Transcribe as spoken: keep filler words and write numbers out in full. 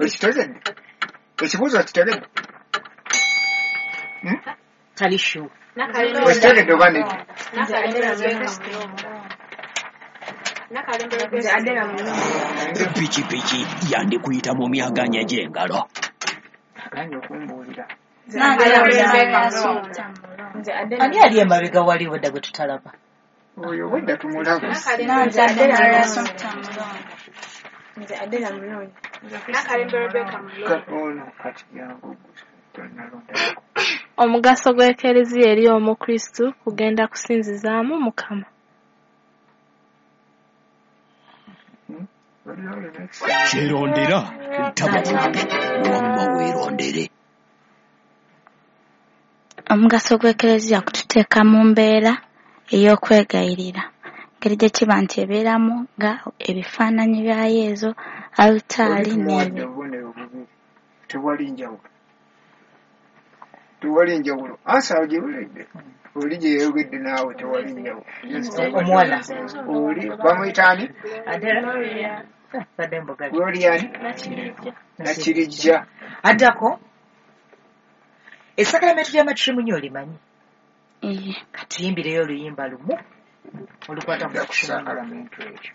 Okitegedde? Ekibuuzo okitegedde? Hmm? Tali sure. Okitegedde oba nedda? Nze Adela Mulongo. Pikipiki yandikuyita mu myaganya gy'engalo. Aganye okumbuulira. Nze Adela. Ani ali emabega wali wedda gwe tutalaba? Oyo obwedda tumulaba. Nze Adela Mulongo. Nze Adela Mulongo. Ka- ono kati jangu tonnalonda. Omugaso gw'Ekereziya eri Omukristu kugenda kusinzizaamu Mukama. Hmm? Waliwo olina Kyerondera taba mubbi wamma weerondere. Omugaso gw'Ekereziya kututeeka mu mbeera ey'okwegayirira. Engeri gye kiba nti ebeeramu nga ebifaananyi bya Yezu, alutaali Oli tumuwadde n'ebyo. obubonero bubiri. Tewali njawulo. Tewali njawulo. Ansa ogiwulidde. Oli gye yayogedde naawe tewali njawulo. Omuwala. Oli bamuyita ani? Adela. Badde mboga. Gloria ani? Nakirijja. Addako. Essakalamento lya matrimony olimanyi? Iye. Katuyimbireyo oluyimba lumu olukwata ku Dda ku matrimony. sakalamento ekyo.